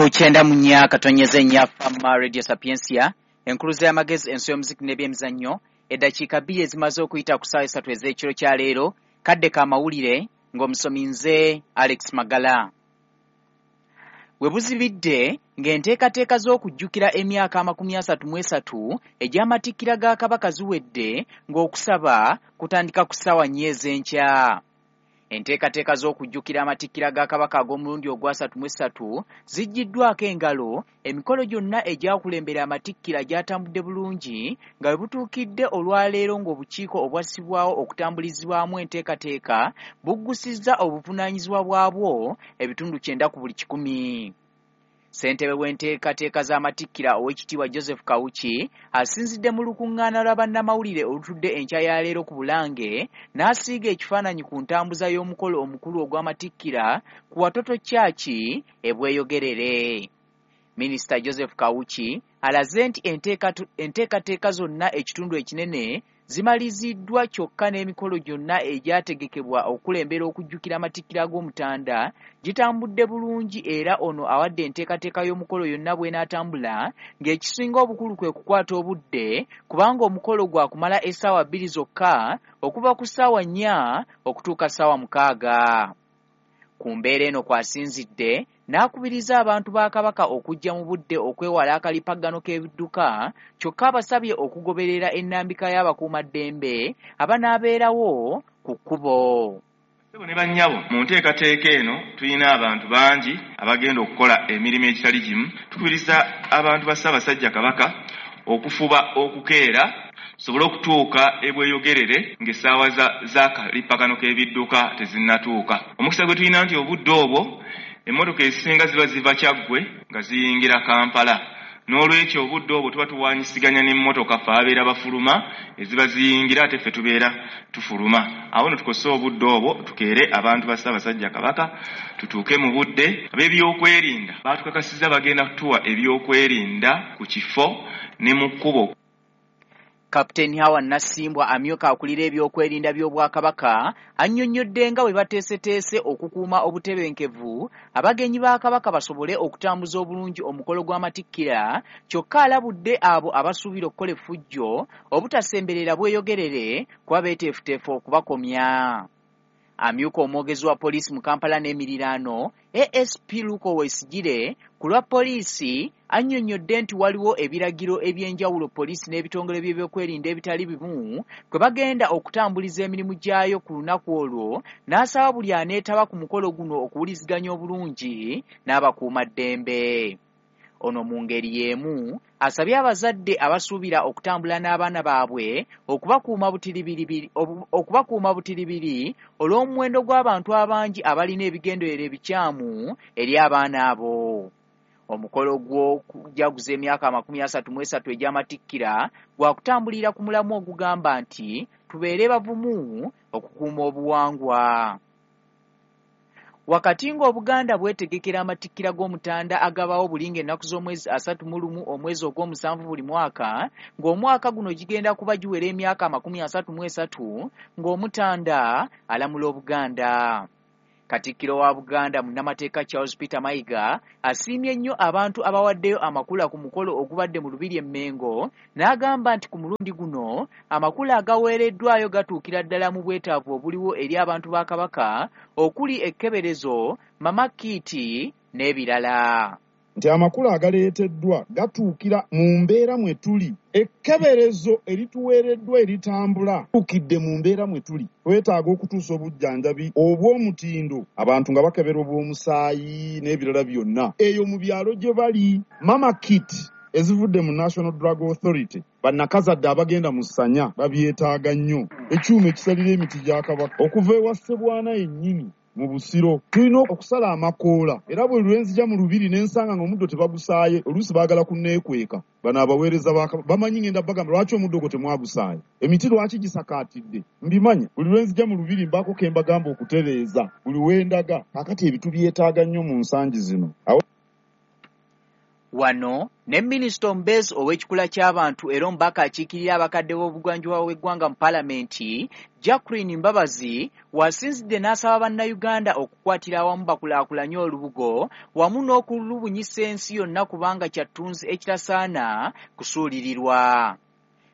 Ku 94.4 Fama Radio Sapientia, enkuluze y'amagezi, ensi y'omuziki n'ebyemizannyo. Eddakiika 2 ezimaze okuyita ku ssaawa 3 ez'ekiro kya leero, kadde ka mawulire ng'omusomi nze Alex Magala. We buzibidde ng'enteekateeka z'okujjukira emyaka 33 egy'amatikkira ga Kabaka ziwedde, ng'okusaba kutandika ku ssaawa 4 ez'enkya. Enteekateeka z'okujjukira amatikkira ga Kabaka ag'omulundi ogwa 33 ziggiddwako engalo. Emikolo gyonna egyakulembera amatikkira gyatambudde bulungi nga bwe butuukidde olwaleero, ng'obukiiko obwassibwawo okutambulizibwamu enteekateeka buggusizza obuvunaanyizibwa bwabwo ebitundu 90 ku buli 100. Ssentebe w'enteekateeka z'amatikkira, Oweekitiibwa Joseph Kawuki, asinzidde mu lukuŋŋaana lwa bannamawulire olutudde enkya ya leero ku Bulange, n'asiiga ekifaananyi ku ntambuza y'omukolo omukulu ogw'amatikkira ku Watoto Church e Bweyogerere. Minisita Joseph Kawuki alaze nti enteekateeka zonna ekitundu ekinene zimaliziddwa, kyokka n'emikolo gyonna egyategekebwa okukulembera okujjukira amatikkira g'Omutanda gitambudde bulungi. Era ono awadde enteekateeka y'omukolo yonna bw'enaatambula, ng'ekisinga obukulu kwe kukwata obudde, kubanga omukolo gwa kumala essaawa 2 zokka, okuva ku ssaawa 4 okutuuka ssaawa 6. Ku mbeera eno kw'asinzidde n'akubiriza abantu ba Kabaka okujja mu budde okwewala akalippagano k'ebidduka, kyokka abasabye okugoberera ennambika y'abakuumaddembe abanaabeerawo ku kkubo. Ssebo ne bannyabo, mu nteekateeka eno tulina abantu bangi abagenda okukola emirimu egitali gimu. Tukubiriza abantu ba Ssaabasajja Kabaka okufuba okukeera tusobole okutuuka e Bweyogerere ng'essaawa z'akalippagano k'ebidduka tezinnatuuka. Omukisa gwe tulina nti obudde obwo emmotoka ezisinga ziba ziva Kyaggwe nga ziyingira Kampala. N'olwekyo obudde obwo tuba tuwaanyisiganya n'emmotoka, ffe ababeera bafuluma eziba ziyingira, ate ffe tubeera tufuluma. Awo nno tukozese obudde obwo tukeere abantu ba Ssaabasajja Kabaka tutuuke mu budde. Ab'ebyokwerinda baatukakasizza bagenda kutuwa ebyokwerinda ku kifo ne mu kkubo. Kapiteeni Hawa Nassimbwa, amyuka akulira ebyokwerinda by'Obwakabaka, annyonnyodde nga bwe bateeseteese okukuuma obutebenkevu, abagenyi ba Kabaka basobole okutambuza obulungi omukolo gw'amatikkira. Kyokka alabudde abo abasuubira okukola effujjo obutasemberera Bweyogerere, kuba beeteefuteefu okubakomya. Amyuka omwogezi wa poliisi mu Kampala n'emiriraano, ASP Luke Owoyesigyire, ku lwa poliisi annyonnyodde nti waliwo ebiragiro eby'enjawulo poliisi n'ebitongole by'ebyokwerinda ebitali bimu kwe bagenda okutambuliza emirimu gyayo ku lunaku olwo, n'asaba buli aneetaba ku mukolo guno okuwuliziganya obulungi n'abakuumaddembe. Ono mu ngeri y'emu asabye abazadde abasuubira okutambula n'abaana baabwe okubakuuma butiribiri olw'omuwendo gw'abantu abangi abalina ebigendererwa ebikyamu eri abaana abo. Omukolo gw'okujaguza emyaka 33 egy'amatikkira gwakutambulira ku mulamwa ogugamba nti tubeere bavumu okukuuma obuwangwa. Wakati ng'Obuganda bwetegekera amatikkira g'Omutanda agabaawo buli ng'ennaku z'omwezi 31 omwezi ogw'omusanvu buli mwaka, ng'omwaka guno gigenda kuba giwera emyaka 33 ng'Omutanda alamula Obuganda. Katikkiro wa Buganda, munnamateeka Charles Peter Mayiga, asiimye nnyo abantu abawaddeyo amakula ku mukolo ogubadde mu Lubiri e Mmengo, n'agamba nti ku mulundi guno amakula agaweereddwayo gatuukira ddala mu bwetaavu obuliwo eri abantu ba Kabaka, okuli ekkeberezo, mama kit n'ebirala. Nti amakula agaleeteddwa gatuukira mu mbeera mwe tuli. Ekkeberezo erituweereddwa eritambula tuukidde mu mbeera mwe tuli. Twetaaga okutuusa obujjanjabi obw'omutindo, abantu nga bakebera obw'omusaayi n'ebirala byonna eyo mu byalo gye bali. Mama kit ezivudde mu National Drug Authority, bannakazadde abagenda mu ssanya babyetaaga nnyo. Ekyuma ekisalira emiti gya Kabaka okuva ewa Ssebwana yennyini mu Busiro. Tulina okusala amakoola, era bwe lwenzija mu lubiri ne nsanga ng'omuddo tebagusaaye, oluusi baagala kunneekweka. Bano abaweereza bamanyi ngenda bagamba, "Lwaki omuddo ogwo temwagusaaye? Emiti lwaki gisakaatidde?" Mbimanya, buli lwenzija mu lubiri mbaako ke mbagamba okutereeza buli wendaga. Kaakati ebyo tubyetaaga nnyo mu nsangi zino. Wano ne minisita omubeezi ow'ekikula ky'abantu era omubaka akiikirira abakadde b'obugwanjuba bw'eggwanga mu paalamenti, Jacqueline Mbabazi, w'asinzidde n'asaba Bannayuganda okukwatira awamu bakulaakulanye olubugo wamu n'okulubunyisa ensi yonna kubanga kya ttunzi ekitasaana kusuulirirwa.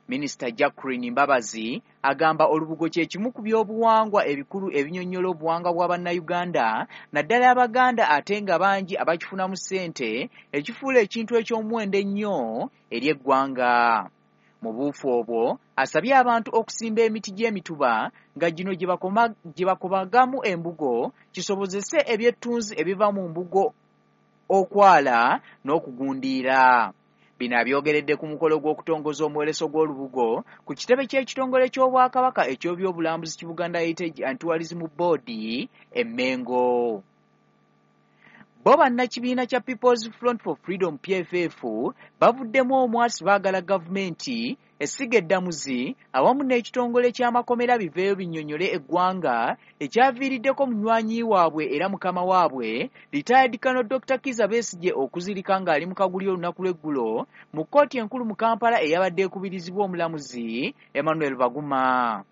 Minisita Jacqueline Mbabazi agamba olubugo kye kimu ku byobuwangwa ebikulu ebinnyonnyola obuwangwa bwa Bannayuganda naddala Abaganda ate nga bangi abakifunamu ssente ekifuula ekintu eky'omuwendo ennyo eri eggwanga. Mu buufu obwo asabye abantu okusimba emiti gy'emituba nga gino gye bakobagamu embugo kisobozese ebyettunzi ebiva mu mbugo okwala n'okugundiira. Bino abyogeredde ku mukolo gw'okutongoza omwoleso gw'olubugo ku kitebe ky'ekitongole ky'Obwakabaka eky'ebyobulambuzi ki Buganda Heritage and Tourism Board e Mmengo. Bo bannakibiina kya People's Front for Freedom PFF bavuddemu omwasi baagala gavumenti, essiga eddamuzi awamu n'ekitongole ky'amakomera biveeyo binnyonnyole eggwanga ekyaviiriddeko munywanyi waabwe era mukama waabwe Retired Colonel Dr. Kizza Besigye okuzirika ng'ali mu kaguli olunaku lw'eggulo mu kkooti enkulu mu Kampala eyabadde ekubirizibwa omulamuzi Emmanuel Baguma.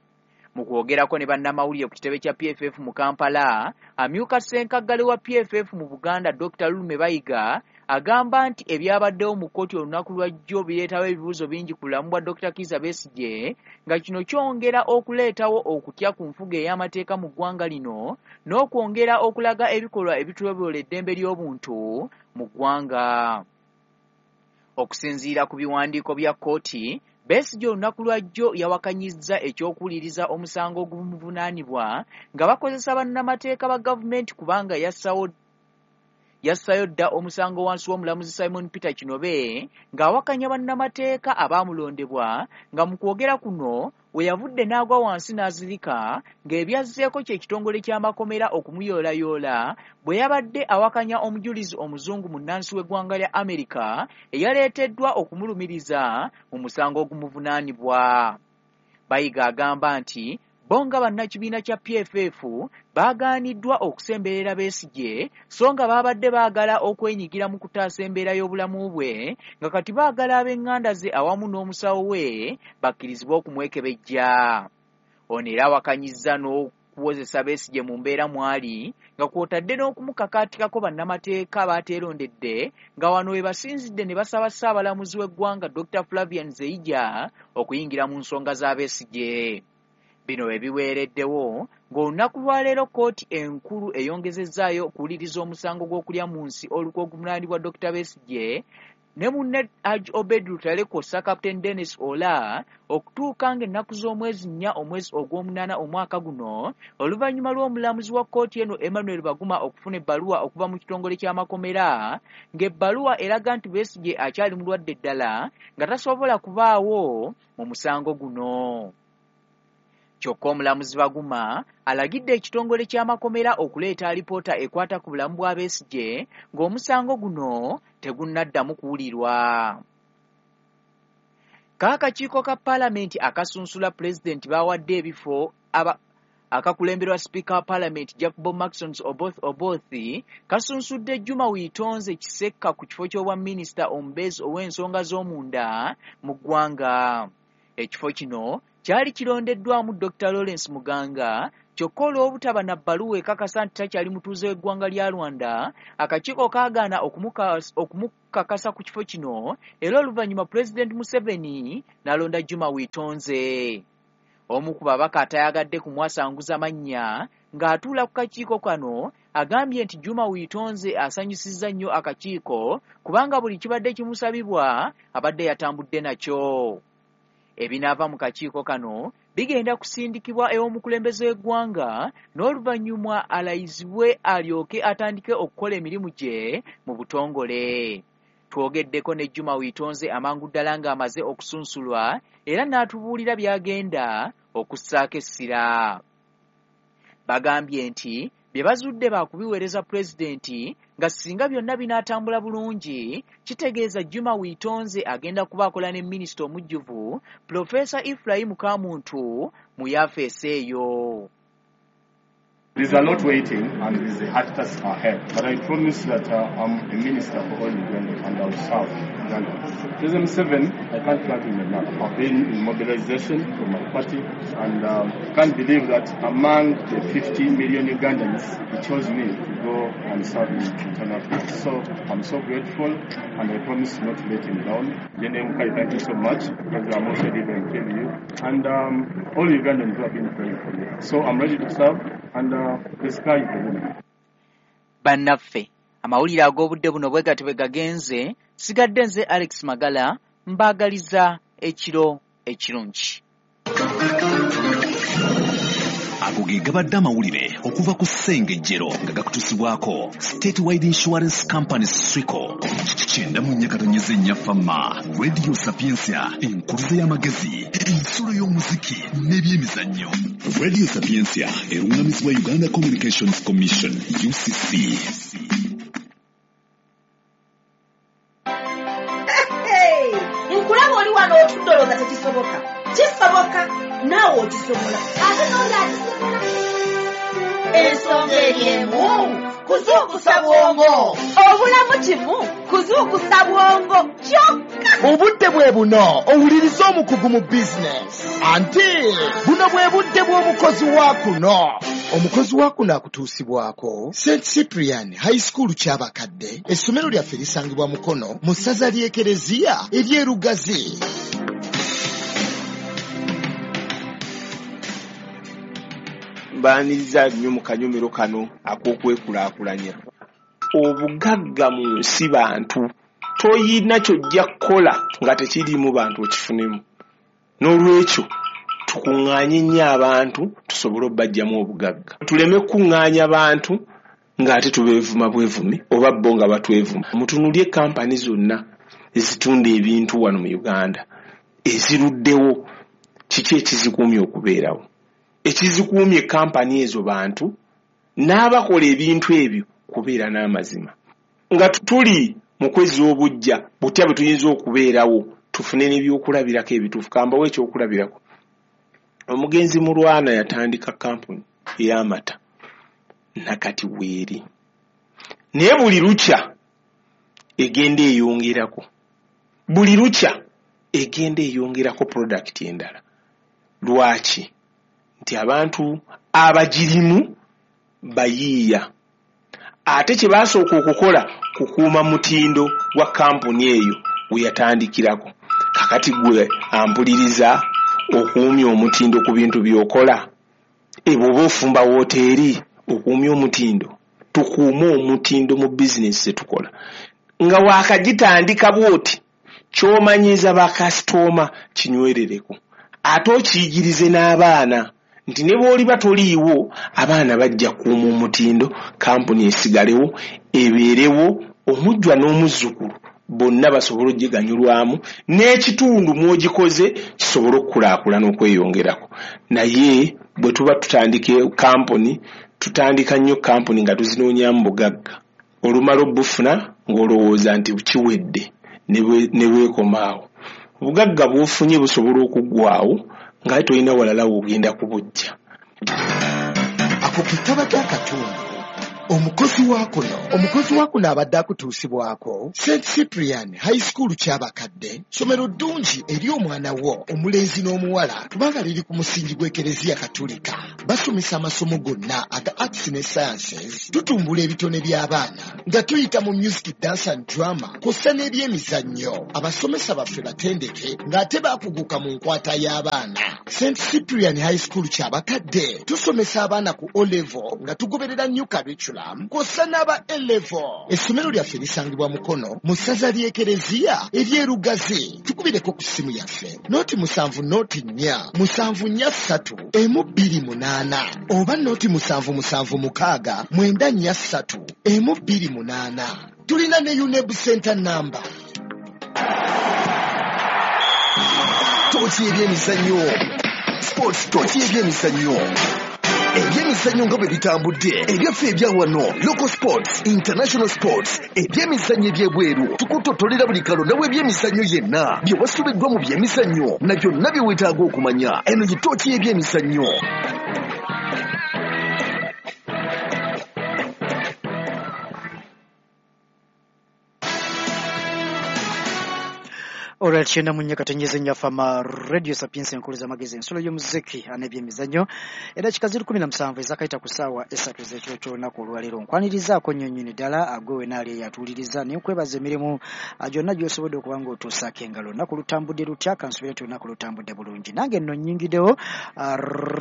Mu kwogerako ne bannamawulire ku kitebe kya PFF mu Kampala, amyuka ssenkaggale wa PFF mu Buganda Dr. Lulume Bayiga agamba nti ebyabaddewo mu kkooti olunaku lwa jjo bireetawo ebibuuzo bingi ku bulamu bwa Dr. Kizza Besigye nga kino kyongera okuleetawo okutya ku nfuga ey'amateeka mu ggwanga lino n'okwongera okulaga ebikolwa ebityoboola eddembe ly'obuntu mu ggwanga. Okusinziira ku biwandiiko bya kkooti, Besigye olunaku lwa jjo yawakanyizza eky'okuwuliriza omusango ogumuvunaanibwa nga bakozesa bannamateeka ba gavumenti kubanga yassayo dda omusango wansi w'omulamuzi Simon Peter Kinobe ng'awakanya bannamateeka abaamulondebwa nga mu kwogera kuno we yavudde n'agwa wansi n'azirika ng'ebyazzeeko kye kitongole ky'amakomera okumuyoolayoola bwe yabadde awakanya omujulizi omuzungu munnansi w'eggwanga lya Amerika eyaleeteddwa okumulumiriza mu musango ogumuvunaanibwa. Bayiga agamba nti bo nga bannakibiina kya PFF baagaaniddwa okusemberera Besigye so nga baabadde baagala okwenyigira mu kutaasa embeera y'obulamu bwe nga kati baagala ab'eŋŋanda ze awamu n'omusawo we bakkirizibwe okumwekebejja. Ono era awakanyizza n'okuwozesa Besigye mu mbeera mw'ali nga kw'otadde n'okumukakaatikako bannamateeka baateerondedde nga wano we basinzidde ne basaba Ssaabalamuzi w'eggwanga Dr. Flavian Zeija okuyingira mu nsonga za Besigye. Bino we biweereddewo ng'olunaku lwaleero kkooti enkulu eyongezezzaayo okuwuliriza omusango gw'okulya mu nsi olukwe oguvunaanibwa Dr. Besigye ne munne Hajji Obed Lutale kw'ossa Captain Dennis Ola okutuuka ng'ennaku z'omwezi 4 omwezi ogw'omunaana omwaka guno oluvannyuma lw'omulamuzi wa kkooti eno Emmanuel Baguma okufuna ebbaluwa okuva mu kitongole ky'amakomera ng'ebbaluwa eraga nti Besigye akyali mulwadde ddala nga tasobola kubaawo mu musango guno. Kyokka omulamuzi Baguma alagidde ekitongole ky'amakomera okuleeta alipoota ekwata ku bulamu bwa Besigye ng'omusango guno tegunnaddamu kuwulirwa. Kaakakiiko ka paalamenti akasunsula pulezidenti baawadde ebifo akakulemberwa sipiika wa paalamenti Jacob Maxons Oboth Oboth kasunsudde Juma Witonze Kisekka ku kifo ky'obwa minisita omubeezi ow'ensonga z'omunda mu ggwanga. Ekifo kino kyali kirondeddwamu Dr. Lawrence Muganga kyokka olw'obutaba na bbaluwa ekakasa nti takyali mutuuze w'eggwanga lya Rwanda, akakiiko kaagaana okumukakasa ku kifo kino era oluvannyuma Pulezidenti Museveni n'alonda Juma Witonze. Omu ku babaka atayagadde kumwasanguza mannya ng'atuula ku kakiiko kano agambye nti Juma Witonze asanyusizza nnyo akakiiko kubanga buli kibadde kimusabibwa abadde yatambudde nakyo. Ebinaava mu kakiiko kano bigenda kusindikibwa ew'omukulembeze w'eggwanga n'oluvannyuma alayizibwe alyoke atandike okukola emirimu gye mu butongole. Twogeddeko ne Juma Witonze amangu ddala ng'amaze okusunsulwa era n'atubuulira by'agenda okussaako essira. Bagambye nti bye bazudde baakubiweereza pulezidenti nga singa byonna binaatambula bulungi kitegeeza Juma Witonze agenda kuba akola ne minisita omujjuvu Pulofeesa Ephraim Kamuntu mu yafeesi eyo. There's a lot waiting and there's a hard task ahead. But I promise that I'm a minister for all Uganda and I'll serve Uganda. President Museveni, I can't thank him enough. I've been in mobilization for my party and can't believe that among the 50 million Ugandans, he chose me to go and serve in internal affairs. So I'm so grateful and I promise not to let him down. Jene thank you so much because I'm also leader in you and all Ugandans who have been praying for me. So I'm ready to serve and the sky is the limit. Bannaffe, amawulire ag'obudde buno bwe gatyo bwe gagenze. Sigadde nze Alex Magala, mbaagaliza ekiro ekirungi. Ago ge gabadde amawulire okuva ku Ssengejjero nga gakutuusibwako Statewide Insurance Company Swico. 94.4 Fama Radio Sapientia, enkuluze y'amagezi, ensulo y'omuziki n'ebyemizannyo. Radio Sapientia erungamizibwa Uganda Communications Commission UCC. Nkulaba oli wano otudde olowooza tekisoboka. Kisoboka, naawe okisobola. Ate n'oli akisobola. Ensonga eri emu, kuzuukusa bwongo. Obulamu kimu, kuzuukusa bwongo kyokka. Obudde bwe buno owuliriza omukugu mu bizinesi. Anti buno bwe budde bw'omukozi wa kuno. Omukozi wa kuno akutuusibwako St Cyprian High School Kyabakadde. Essomero lyaffe lisangibwa Mukono mu ssaza ly'Ekereziya ery'e Lugazi. Mbaaniriza nnyo mu kanyomero kano ak'okwekulaakulanya. Obugagga mu nsi bantu, toyina ky'ojja kukola nga tekiriimu bantu okifunemu. N'olwekyo tukuŋŋaanye nnyo abantu tusobole obbajjamu obugagga. Tuleme kukuŋŋaanya bantu ng'ate tubeevuma bwevumi oba bo nga batwevuma. Mutunuulye kampani zonna ezitunda ebintu wano mu Uganda eziruddewo, kiki ekizikuumye okubeerawo? Ekizikuumye kampani ezo bantu n'abakola ebintu ebyo kubeera n'amazima. Nga tuli mu kwezza obuggya butya bwe tuyinza okubeerawo tufune n'ebyokulabirako ebituufu. Kambawo ekyokulabirako. Omugenzi Mulwana yatandika kampuni ey'amata nakati weeri, naye buli lukya egenda eyongerako, buli lukya egenda eyongerako product endala. Lwaki? Nti abantu abagirimu bayiiya, ate kye baasooka okukola kukuuma mutindo gwa kampuni eyo we yatandikirako. Kakati gwe ampuliriza okuumya omutindo ku bintu by'okola, bw'oba ofumba wooteeri okuumya omutindo. Tukuume omutindo mu bizinesi ze tukola. Nga waakagitandika bw'oti, ky'omanyiiza bakasitooma kinywerereko, ate okiyigirize n'abaana nti ne bw'oliba toliiwo abaana bajja kukuuma omutindo, kampuni esigalewo ebeerewo, omujjwa n'omuzzukulu bonna basobole okugiganyulwamu n'ekitundu mw'ogikoze kisobole okukulaakulana okweyongerako. Naye bwe tuba tutandika kampuni, tutandika nnyo kampuni nga tuzinoonyaamu bugagga. Olumala obufuna ng'olowooza nti kiwedde ne bwekomaawo. Obugagga bw'ofunye busobola okuggwaawo nga tolina walala w'ogenda kubujja. Ako ke kabadde akatundu. Omukozi wa kuno, omukozi wa kuno abadde akutuusibwako St Cyprian High School Kyabakadde, ssomero ddungi eri omwana wo omulenzi n'omuwala kubanga liri ku musingi gw'Ekereziya Katolika. Basomesa amasomo gonna aga arts ne sciences, tutumbula ebitone by'abaana nga tuyita mu music, dance and drama kw'ossa n'ebyemizannyo. Abasomesa baffe batendeke ng'ate baakuguka mu nkwata y'abaana. St Cyprian High School Kyabakadde tusomesa abaana ku O level nga tugoberera new curriculum kw'ossa n'aba A level. Essomero lyaffe lisangibwa Mukono mu ssaza ly'Ekereziya ery'e Lugazi. Tukubireko ku ssimu yaffe 07 04 743 128 oba 0776 943 128. Tulina ne UNEB Center number. Tooki ebyemizannyo, sports tooki ebyemizannyo. Ebyemizannyo nga bwe bitambudde, ebyaffe ebya wano, local sports, international sports, ebyemizannyo ebyebweru, tukutotolera buli kalonda w'ebyemizannyo yenna, bye wasubiddwa mu byemizannyo na byonna bye weetaaga okumanya. Eno ye tooki y'ebyemizannyo. Alright, kyenda mu nnya katonnyeze nnyaffe ama Radio Sapientia enkulu z'amagezi ensulo y'omuziki n'ebyemizannyo. Eddakiika ziri 17 ezakayita ku ssaawa 3 ez'ekiro ky'olunaku olwaleero. Nkwanirizaako nnyo nnyini ddala agwe wena ali eyatuwuliriza ne nkwebaza emirimu gyonna gy'osobodde okuba ng'otuusaako engalo. Olunaku lutambudde lutya? Kansuubire nti olunaku lutambudde bulungi. Nange nno nnyingiddewo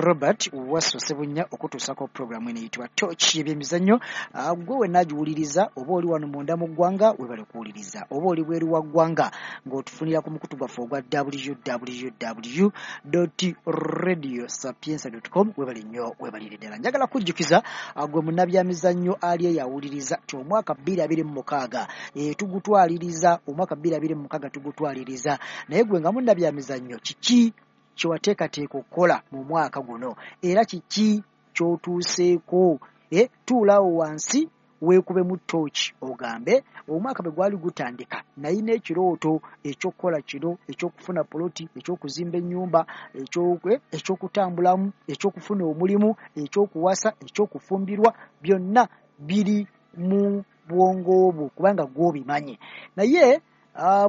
Robert Wasso Ssebunya okutuusaako pulogulaamu eno eyitibwa Torch y'ebyemizannyo. Gwe wenna agiwuliriza oba oli wano munda mu ggwanga webale kuwuliriza, oba oli bweru wa ggwanga ng'otufunira ku mukutu gwaffe ogwa www.radiosapientia.com webale nnyo webalire ddala. Njagala kujjukiza gwe munnabyamizannyo ali eyawuliriza ti omwaka 2026 tugutwaliriza, omwaka 2026 tugutwaliriza, naye gwe nga munnabyamizannyo kiki kye wateekateeka okukola mu mwaka guno era kiki ky'otuuseeko? Tuulaawo wansi weekubemu ttooki ogambe omwaka bwe gwali gutandika nalina ekirooto eky'okukola kino, eky'okufuna poloti, eky'okuzimba ennyumba, eky'okutambulamu, eky'okufuna omulimu, eky'okuwasa, eky'okufumbirwa, byonna biri mu bwongo bwo kubanga gw'obimanyi. Naye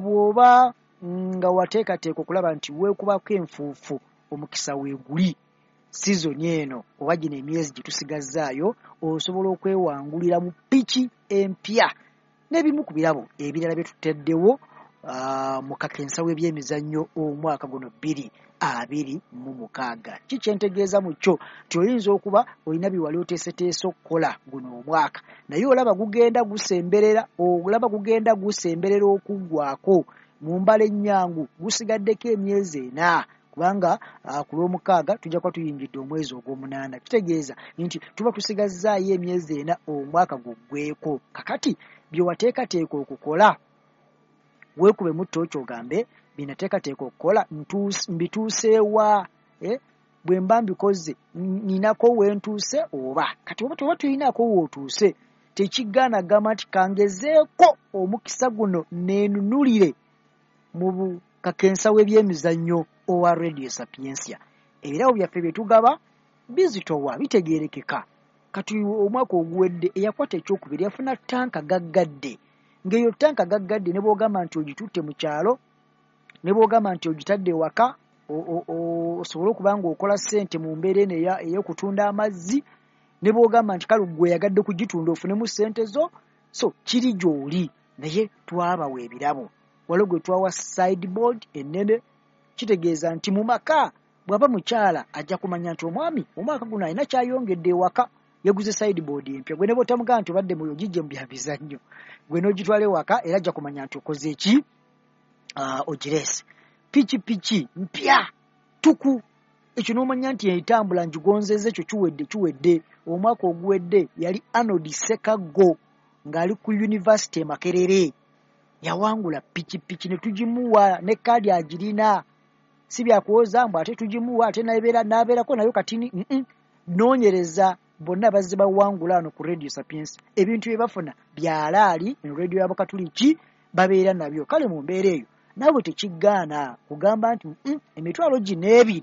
bw'oba nga wateekateeka okulaba nti weekubako enfuufu, omukisa weeguli sizoni eno oba gino emyezi gye tusigazzaayo osobola okwewangulira mu piki empya n'ebimu ku birabo ebirala bye tutaddewo mu kakensa w'ebyemizannyo omwaka guno 2026. Ki kye ntegeeza mu kyo nti oyinza okuba olina bye wali oteeseteese okukola guno omwaka, naye olaba gugenda gusemberera, olaba gugenda gusemberera okuggwako mu mbala ennyangu gusigaddeko emyezi 4 kubanga ku lw'omukaaga tujja kuba tuyingidde omwezi ogw'omunaana. Kitegeeza nti tuba tusigazzaayo emyezi 4 omwaka guggweko. Kakati bye wateekateeka okukola weekubemu ttooki ogambe bye nateekateeka okukola mbituuseewa, bwe mba mbikoze ninako we ntuuse oba kati oba toba tulinaako w'otuuse tekigaana gamba nti kangezeeko omukisa guno neenunulire mu kakensa w'ebyemizannyo owa Radio Sapientia. Ebirabo byaffe bye tugaba bizitowa, bitegeerekeka. Kati omwaka oguwedde eyakwata ekyokubiri yafuna ttanka gaggadde, ng'eyo ttanka gaggadde ne bw'ogamba nti ogitutte mu kyalo, ne bw'ogamba nti ogitadde ewaka osobole okuba ng'okola ssente mu mbeera eno ey'okutunda amazzi, ne bw'ogamba nti kale ggwe oyagadde kugitunda ofunemu ssente zo, so kiri gy'oli. Naye twabawa ebirabo, waliwo gwe twawa sideboard ennene, kitegeeza nti mu maka bw'aba mukyala ajja kumanya nti omwami omwaka guno alina kyayongedde ewaka, yaguze sideboard empya. Gwe ne bw'otamugamba nti obadde ogijje mu byamizannyo, gwe n'ogitwala ewaka era ajja kumanya nti okoze ki, ogireese. Pikipiki mpya tuku, ekyo n'omanya nti etambula ngigonzezza, ekyo kiwedde. Omwaka oguwedde yali Arnold Ssekaggo ng'ali ku yunivasite e Makerere, yawangula pikipiki ne tugimuwa ne kaadi agirina, si byakuwoza mbu ate tugimuwa ate n'abeerako nayo katini. Noonyereza bonna bazze bawangula wano ku Radio Sapientia, ebintu bye bafuna byalaali eno radio y'Abakatuliki babeera nabyo. Kale mu mbeera eyo naawe tekigaana kugamba nti emitwalo gino 2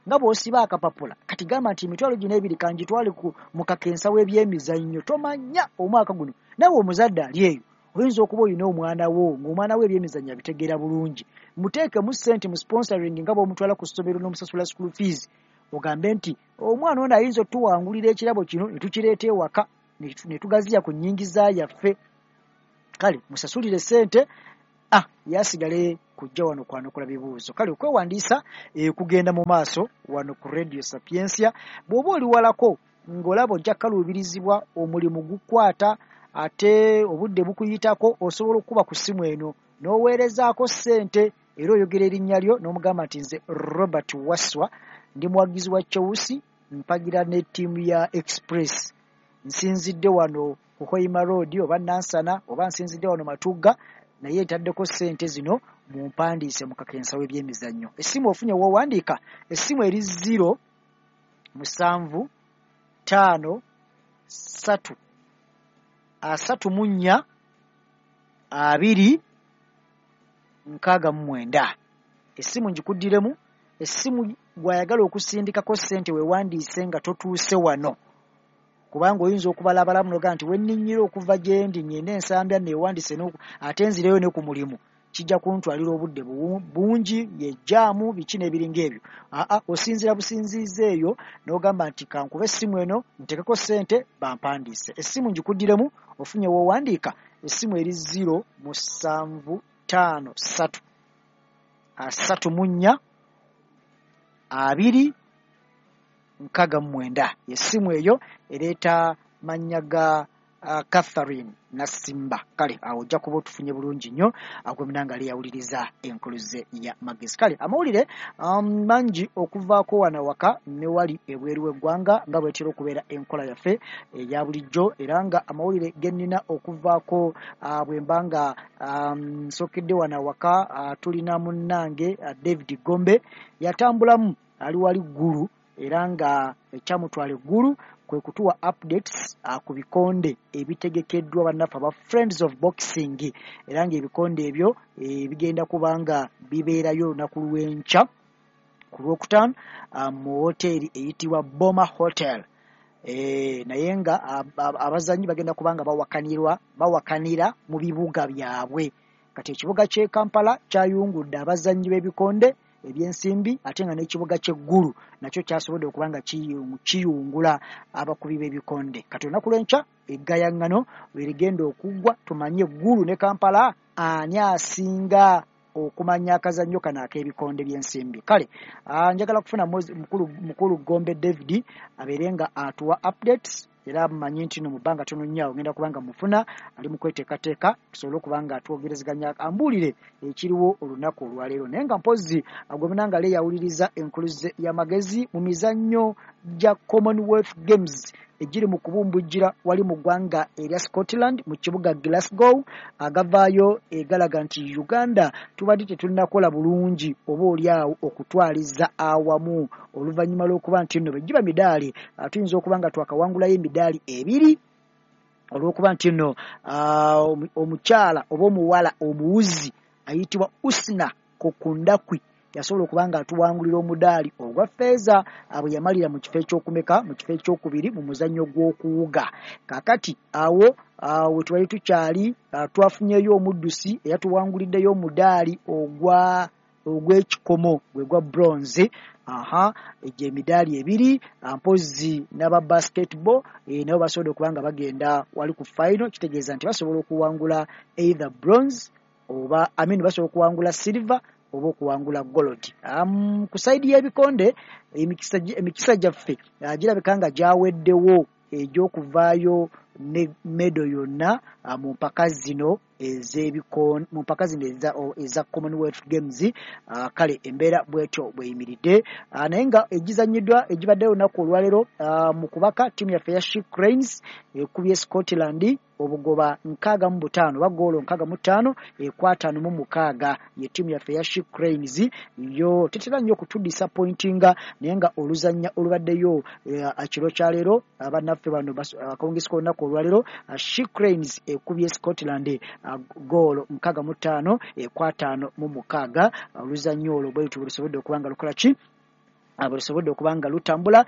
nga bw'osiba akapapula, kati gamba nti emitwalo gino 2 kangitwale mu kakensa w'ebyemizannyo. Tomanya omwaka guno naawe omuzadde ali eyo oyinza okuba olina omwana wo ng'omwana we ebyemizannyo abitegeera bulungi, muteekemu ssente mu sponsoring nga bw'omutwala ku ssomero n'omusasula school fees, ogambe nti omwana ono ayinza otuwangulira ekirabo kino ne tukireeta ewaka ne tugaziya ku nnyingiza yaffe. Kale musasulire ssente yasigale kujja wano kwanukula bibuuzo. Kale okwewandiisa kugenda mu maaso wano ku Radio Sapientia. Bw'oba oli walako ng'olaba ojja kukaluubirizibwa, omulimu gukwata ate obudde bukuyitako, osobola okukuba ku ssimu eno n'oweerezaako ssente era oyogera erinnya lyo n'omugamba nti nze Robert Wasswa, ndi muwagizi wa Chelsea, mpagira ne ttiimu ya Express, nsinzidde wano ku Hoima Road oba Nansana oba nsinzidde wano Matugga, naye ntaddeko ssente zino mumpandiise mu kakensa w'ebyemizannyo. Essimu ofunye w'owandiika, essimu eri 0 7 5 3 34 2 69. Essimu ngikuddiremu, essimu gw'ayagala okusindikako ssente weewandiise nga totuuse wano, kubanga oyinza okubalabalamu n'ogamba nti wenninnyira okuva gye ndi ngende ensambya neewandiise ate nzireyo ne ku mulimu. Kijja kuntwalira obudde bungi, yejjaamu biki n'ebiringa ebyo. Aa, osinziira businziiza eyo n'ogamba nti kankuba essimu eno ntekeko ssente bampandiise. Essimu ngikuddiremu ofunye w'owandiika. Essimu eri 0 7 5 3 34 2 69. Essimu eyo ereeta mannya ga Catherine Nasimba. Kale awo ojja kuba otufunye bulungi nnyo agwemunanga ali yawuliriza enkuluze ya magezi. Kale amawulire mangi okuvaako wano waka ne wali ebweru w'eggwanga nga bwetera okubeera enkola yaffe eya bulijjo, era nga amawulire ge nnina okuvaako bwe mba nga nsookedde wano waka, tulina munnange David Gombe yatambulamu ali wali Ggulu, era nga ekyamutwala eggulu kwe kutuwa updates ku bikonde ebitegekeddwa bannaffe aba Friends of Boxing, era ng'ebikonde ebyo bigenda kuba nga bibeerayo olunaku lw'enkya ku Lwokutaano mu woteeri eyitibwa Boma Hotel. Naye nga abazannyi bagenda kuba nga bawakanira mu bibuga byabwe. Kati ekibuga ky'e Kampala kyayungudde abazannyi b'ebikonde ebyensimbi, ate nga n'ekibuga ky'eggulu nakyo kyasobodde okuba nga kiyungula abakubi b'ebikonde. Kati olunaku lw'enkya eggayaŋŋano lwe ligenda okuggwa tumanye Ggulu ne Kampala ani asinga okumanya akazannyo kano ak'ebikonde by'ensimbi. Kale njagala kufuna mukulu Gombe David abeere nga atuwa updates, era mmanyi nti no mu bbanga ttono nnyo awo ngenda kuba nga mufuna ali mu kweteekateeka tusobole okuba nga twogerezeganya ambuulire ekiriwo olunaku olwaleero. Naye nga mpozzi agwemunanga ale yawuliriza enkuluze y'amagezi mu mizannyo gya Commonwealth Games egiri mu kubumbujjira wali mu ggwanga erya Scotland mu kibuga Glasgow, agavaayo egalaga nti Uganda tubadde tetunnakola bulungi oba oli awo okutwaliza awamu oluvannyuma lw'okuba nti nno begiba midaali tuyinza okuba nga twakawangulayo emidaali 2 olw'okuba nti nno omukyala oba omuwala omuwuzi ayitibwa Usna Kokundakwi yasobola okuba nga atuwangulira omudaali ogwa ffeeza bwe yamalira mu kifo ekyokumeka mu kifo ekyokubiri mu muzannyo gw'okuwuga. Kaakati awo we twali tukyali twafunyeyo omuddusi eyatuwanguliddeyo omudaali ogw'ekikomo gwe gwa bronze. Aha, egyo emidaali 2 mpozzi n'aba basketball nabo basobodde okuba nga bagenda wali ku final, kitegeeza nti basobola okuwangula either bronze oba basobola okuwangula silver oba okuwangula gold. Ku sayidi y'ebikonde emikisa gyaffe girabika nga gyaweddewo egy'okuvaayo ne medo yonna mu mpaka zino ez'ebikonde, mu mpaka zino eza Commonwealth Games. Kale embeera bwetyo bweyimiridde, naye nga egizannyiddwa egibaddeyo olunaku olwaleero mu kubaka ttiimu yaffe ya She Cranes ekubye Scotland obugoba 65 oba ggoolo 65 ku 56 ye ttiimu yaffe ya She Cranes. Yo tetera nnyo okutudisappointinga, naye nga oluzannya olubaddeyo ekiro kya leero bannaffe bano akawungezi k'olunaku olwaleero She Cranes ekubye Scotland ggoolo 65 ku 56. Oluzannya olwo bwe lutyo bwe lusobodde okuba nga lukola ki, bwe lusobodde okuba nga lutambula.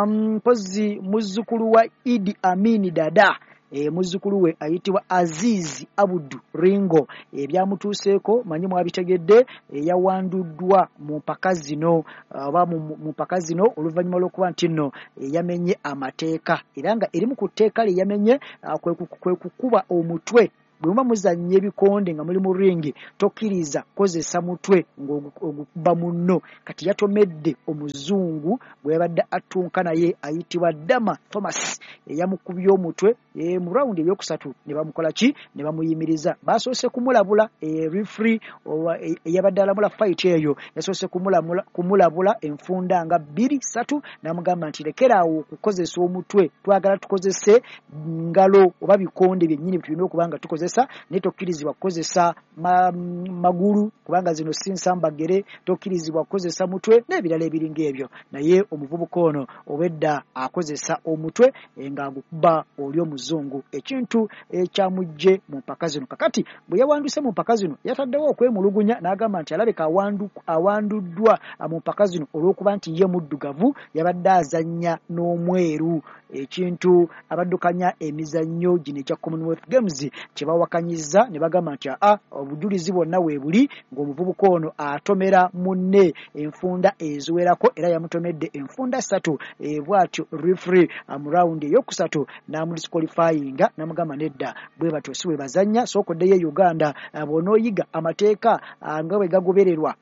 Mpozzi muzzukulu wa Idi Amin Dada, muzzukulu we ayitibwa Aziz Abdu Ringo, ebyamutuuseeko manyi mwabitegedde, yawanduddwa mu mpaka zino oba mu mpaka zino oluvannyuma lw'okuba nti nno yamenye amateeka, era nga erimu ku tteeka lye yamenye kwe kukuba omutwe. Bwe muba muzannya ebikonde nga muli mu ringi tokkiriza kukozesa mutwe ng'ogukuba munno. Kati yatomedde omuzungu bwe yabadde attunka naye ayitibwa Dama Thomas eyamukubye omutwe mu rawundi eyokusatu ne bamukola ki, ne bamuyimiriza. Basoose kumulabula referee eyabadde alamula fight eyo yasoose kumulabula enfunda nga 2 3 n'amugamba nti lekeraawo okukozesa omutwe, twagala tukozese ngalo oba bikonde byennyini tulina okuba nga tukozesa, naye tokkirizibwa kukozesa magulu kubanga zino si nsambagere, tokkirizibwa kukozesa mutwe n'ebirala ebiringa ebyo. Naye omuvubuka ono obwedda akozesa omutwe ng'agukuba oli omuzungu, ekintu ekyamugye mu mpaka zino. Kakati bwe yawanduse mu mpaka zino yataddewo okwemulugunya n'agamba nti alabika awanduddwa mu mpaka zino olw'okuba nti ye muddugavu yabadde azannya n'omweru, ekintu abaddukanya emizannyo gino egya Commonwealth Games kye Bawakanyizza ne bagamba nti aa, obujulizi bwonna weebuli ng'omuvubuka ono atomera munne enfunda eziwerako, era yamutomedde enfunda 3. Bw'atyo referee mu rawundi eyokusatu n'amudisqualifyinga n'amugamba nedda, bwe batyo si bwe bazannya, sooka oddeyo e Uganda bw'onooyiga amateeka nga bwe gagobererwa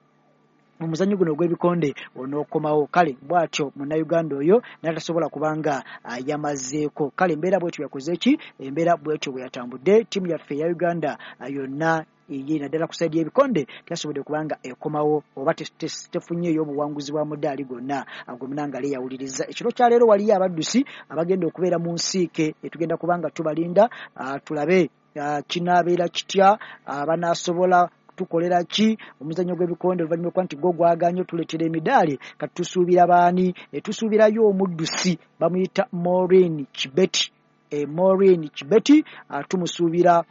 mu muzannyo guno ogw'ebikonde onookomawo. Kale bw'atyo munnayuganda oyo n'atasobola kubanga yamazeeko. Kale embeera bwetyo yakoze ki, embeera bwetyo bwe yatambudde. Ttiimu yaffe eya Uganda yonna ye naddala ku sayidi y'ebikonde teyasobodde kubanga ekomawo oba tefunyeeyo obuwanguzi bwa mudaali gwonna gwe munange ali yawuliriza. Ekiro kya leero waliyo abaddusi abagenda okubeera mu nsiike, tugenda kubanga tubalinda tulabe kinaabeera kitya, banaasobola tukolera ki omuzannyo gw'ebikonde oluvannyuma lw'okuba nti gwo gwagaanye otuleetera emidaali. Kati tusuubira baani? Tusuubirayo omuddusi bamuyita Maureen Kibeti. Maureen Kibeti tumusuubira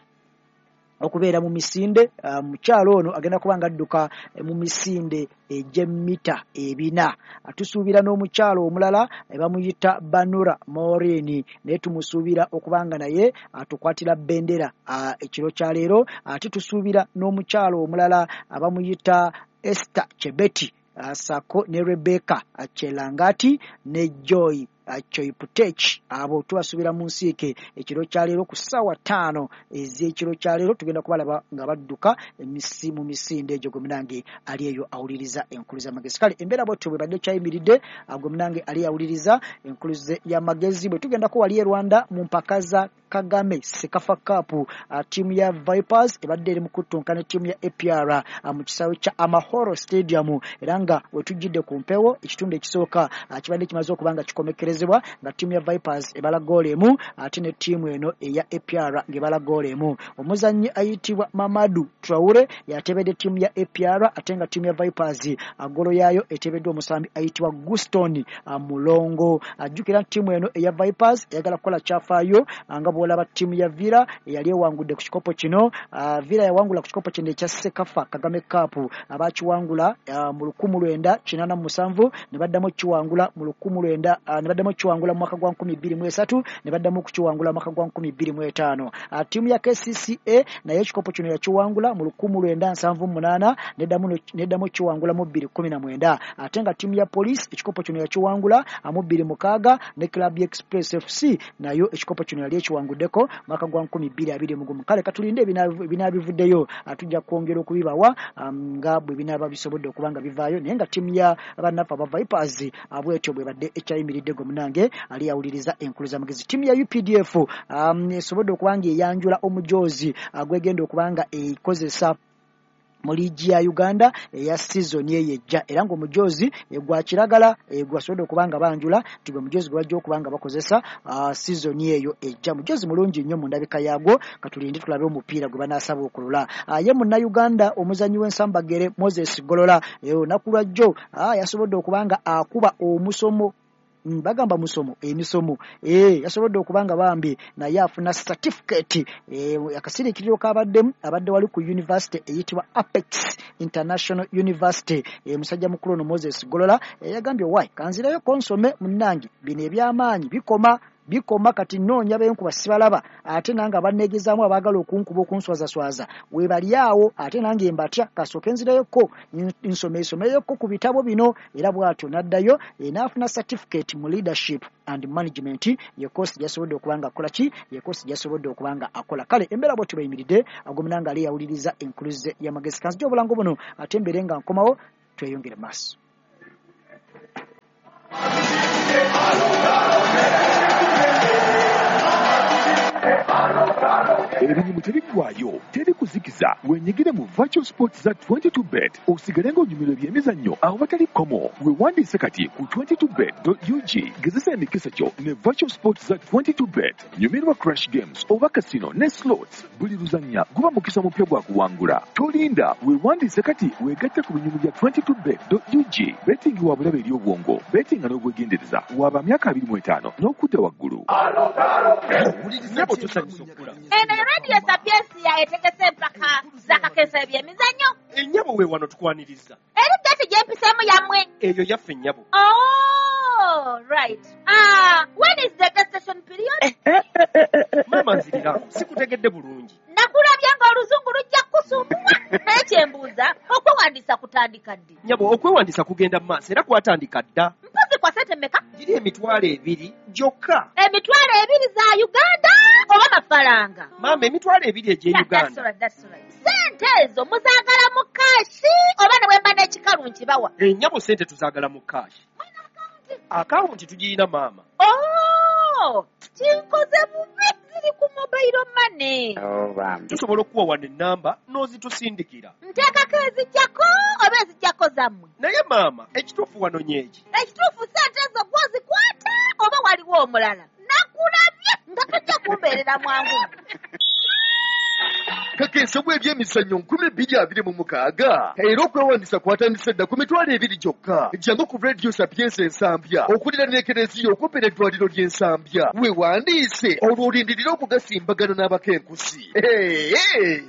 okubeera mu misinde. Mukyalo ono agenda kuba nga adduka mu misinde egy'emmita 400. Tusuubira n'omukyalo omulala bamuyita Banura Maureen, naye tumusuubira okuba nga naye atukwatira bendera ekiro kya leero. Ate tusuubira n'omukyalo omulala bamuyita Esther Chebeti sako ne Rebecca Chelangati ne Joy Choiputech. Abo tubasuubira mu nsiike ekiro kya leero ku ssaawa 5 ez'ekiro kya leero. Tugenda kubalaba nga badduka mu misinde egyo. Gwe munange ali eyo awuliriza enkulu z'amagezi. Kale embeera bwetyo bwe badde kyayimiridde, gwe munange ali awuliriza enkulu y'amagezi. Bwe tugendako wali e Rwanda mu mpaka za Kagame Sekafa Cup, ttiimu ya Vipers ebadde eri mu kuttunka ne ttiimu ya APR mu kisaawe kya Amahoro Stadium, era nga we tujjidde ku mpewo ekitundu ekisooka kibadde kimaze okuba nga kikomekerezebwa nga ttiimu ya Vipers ebala ggoolo 1 ate ne ttiimu eno eya APR ng'ebala ggoolo 1. Omuzannyi ayitibwa Mamadou Traore yatebedde ttiimu ya APR, ate nga ttiimu ya Vipers ggoolo yaayo etebeddwa omusambi ayitibwa Guston Mulongo. Ajjukira ttiimu eno eya Vipers eyagala kukola kyafaayo nga bw'olaba ttiimu ya Villa eyali ewangudde ku kikopo kino. Villa yawangula ku kikopo kino ekya Sekafa Kagame Cup, abakiwangula mu 1987 ne baddamu okukiwangula mu 19 ne baddamu okukiwangula mu mwaka gwa 2003 ne baddamu okukiwangula mu mwaka gwa 2005. Ttiimu ya KCCA naye ekikopo kino yakiwangula mu 1978 neddamu okukiwangula mu 2019, ate nga ttiimu ya Police ekikopo kino yakiwangula mu 2006 ne Club Express FC nayo ekikopo kino yali ekiwanguddeko mwaka gwa 2021. Kale katulinde ebinaabivuddeyo, tujja kwongera okubibawa nga bwe binaaba bisobodde okuba nga bivaayo, naye nga ttiimu ya bannaffe aba Vipers bwetyo bwe badde ekyayimiridde. Gwe munange ali awuliriza enkulu z'amagezi. Ttiimu ya UPDF esobodde okuba nga eyanjula omujoozi gwegenda okuba nga ekozesa mu liigi ya Uganda eya sizoni eyo ejja, era ng'omujoozi gwa kiragala gwasobodde okuba nga banjula nti gwe mujoozi gwe bajja okuba nga bakozesa sizoni eyo ejja. Mujoozi mulungi nnyo mu ndabika yaagwo, katulinde tulabe omupiira gwe banaasaba okulola. Ye munnayuganda omuzannyi w'ensambagere Moses Golola olunaku lwa jjo yasobodde okuba nga akuba omusomo, bagamba musomo emisomo, yasobodde okuba nga bambi naye afuna certificate. Akasiriikiriro kabaddemu abadde wali ku university eyitibwa Apex International University. Musajja mukulu ono Moses Golola yagambye wai kanzirayo konsome munnange, bino eby'amaanyi bikoma kati nnoonya benkuba sibalaba, ate nange abanneegezaamu abaagala okunkuba okunswazaswaza we bali awo, ate nange mbatya, kasooke nzirayoko nsomesomeyoko ku bitabo bino. Era bw'atyo n'addayo n'afuna certificate mu leadership and management, ye course gyasobodde okuba nga akola ki, ye course gyasobodde okuba nga akola. Kale embeera bwetyo bweyimiridde, gwe munange ali yawuliriza enkuluze y'amagezi. Kanzija obulango buno ate mbeere nga nkomawo tweyongere maaso. Ebinyumu tebiggwaayo, teri kuzikiza. Wenyigire mu virtual sports za 22bet osigale ng'onyumirwa ebyemizannyo awatali kkomo. Weewandiise kati ku 22bet.ug, gezesa emikisa gyo ne virtual sports za 22bet. Nyumirwa crash games oba casino ne slots. Buli luzannya guba mukisa mupya gwa kuwangula. Tolinda, weewandiise kati weegatte ku binyumu bya 22bet.ug. Betting wa bulabe eri obwongo, bettinga n'obwegendereza. Waba myaka 25 n'okudda waggulu. Nabo tusanyusa okukula. Eno Radio Sapiensia etegese empaka z'akakeesa ebyemizannyo. Ennyabo we wano tukwaniriza. Eri geeti gye mpiseemu yammwe. Eyo yaffe nnyabo. Oh, right. When is the gestation period? Maama nzirira, sikutegedde bulungi. Nakulabye ng'oluzungu lujja kusumbuwa. Naye kyembuuza, okwewandiisa kutandika ddi? Nnyabo, okwewandiisa kugenda mu maaso era kwatandika dda. Mpozi kwa ssente mmeka? Giri 20,000 gyokka. 20,000 za Uganda oba mafaranga? Maama, 20,000 egy'e Uganda. Ssente ezo muzaagala mu kaashi oba ne bwe mba n'ekikalu nkibawa? Ennyabo, ssente tuzaagala mu kaashi. Akawunti tugirina maama. Oh, kinkoze bubi, ziri ku mobile money. Tusobola okuwa wano ennamba n'ozitusindikira. Nteekako ezijjako oba ezijjako zammwe? Naye maama, ekituufu wano nyeeki. Ekituufu ssente ezo gw'ozikwata oba waliwo omulala? Nakulabye nga tojja kumbeerera mwangu. Kakensebwa ebyemizannyo 2026 era okwewandiisa kwatandise dda ku 20,000 gyokka. Jangu ku Radio Sapienza Ensambya okuliraana ekereziya okumpi n'eddwaliro ly'Ensambya, weewandiise olwo olindirire okugasimbagana n'abakenkusi.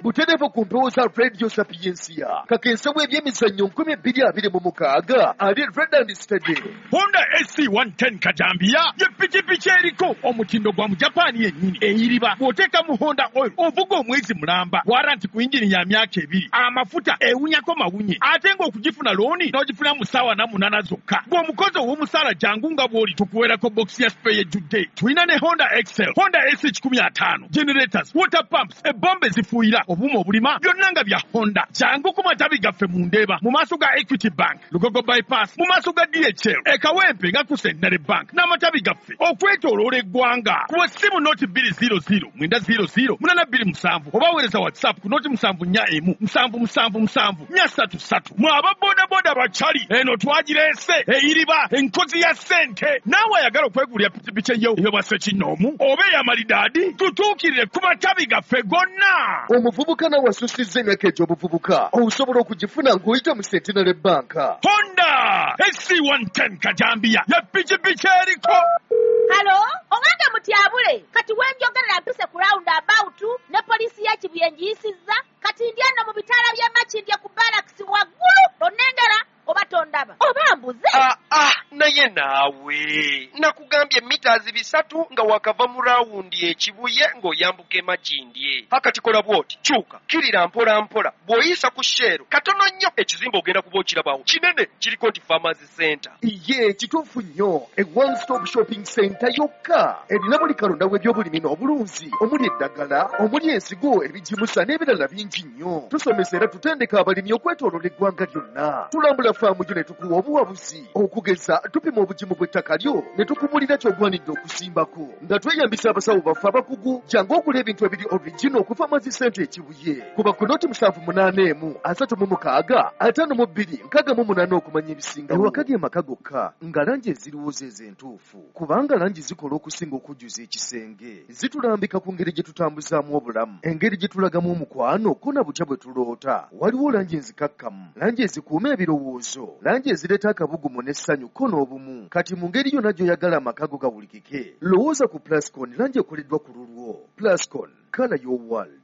Butereevu ku mpewo za Radio Sapiensia. Kakensebwa ebyemizannyo 2026 ali Red and Steady. Honda SC 110 Kajambiya ye pikipiki eriko omutindo gwa Mujapani yennyini eyiriba. Bw'oteeka mu Honda oil ovuga omwezi mulamba, waranti ku yingini ya myaka 2, amafuta ewunyako mawunye, ate ng'okugifuna looni n'ogifuna mu ssaawa 8 zokka. Bw'omukozi ow'omusaala jangu nga bw'oli tukuweerako bokisi ya spare ejjudde. Tulina ne Honda Excel, Honda SC 150, generators, water pumps, ebombe ezifuuyira, obuuma obulima, byonna nga bya Honda. Jangu ku matabi gaffe mu Ndeeba, mu maaso ga Equity Bank, Lugogo Bypass, mu maaso ga DHL, e Kawempe nga ku Centenary Bank, n'amatabi gaffe okwetooloola eggwanga. Kuba essimu noti 200 900 827 oba weereza WhatsApp ku noti 741 777 433. Mwe aba bodaboda bakyali, eno twagireese eyiriba enkozi ya ssente. Naawe ayagala okwegulira pikipiki eyo ey'obwa ssekinnoomu oba ey'amalidaadi, tutuukirire ku matabi gaffe gonna. Omuvubuka nawe asusizza emyaka egy'obuvubuka osobola okugifuna ng'oyita mu Centenary Bank. Honda SC 110 Kajambiya ye pikipiki eriko. Halo, owange mutyabule, kati wenjogerera mpise ku round about ne poliisi ya Kibuye ngiyisizza, kati ndi eno mu bitaala by'e Makindye ku barracks waggulu, onnengera oba tondaba oba mbuze? Naye naawe nakugambye mita 300 nga wakava mu rawundi e Kibuye ng'oyambuka e Makindye. Akati kola bw'oti, kyuka kirira mpola mpola, bw'oyisa ku Shell katono nnyo ekizimbe ogenda kuba okirabawo kinene, kiriko nti Farmers Center. Ye kituufu nnyo, e one stop shopping center yokka erina buli kalonda w'ebyobulimi n'obulunzi, omuli eddagala, omuli ensigo, ebigimusa n'ebirala bingi nnyo. Tusomesa era tutendeka abalimi okwetooloola eggwanga lyonna. Tulambula faamu gyo ne tukuwa obuwabuzi, okugeza tupima obugimu bw'ettaka lyo ne tukubulira ky'ogwanidde okusimbako nga tweyambisa abasawo baffe abakugu. Jangu ogula ebintu ebiri original ku Farmers Center e Kibuye. Kuba ku noti 781 36 52 68 okumanya ebisingawo. Ewaka ge maka gokka nga langi eziriwo ze entuufu, kubanga langi zikola okusinga okujjuza ekisenge. Zitulambika ku ngeri gye tutambuzaamu obulamu, engeri gye tulagamu omukwano ko na butya bwe tuloota. Waliwo langi enzikakkamu, langi ezikuuma ebirowoozo, langi ezireeta akabugumu n'essanyu ko n'obumu. Kati mu ngeri yonna gy'oyagala amaka go gawulikike, lowooza ku Plascon, langi ekoleddwa ku lulwo. Plascon, colour your world.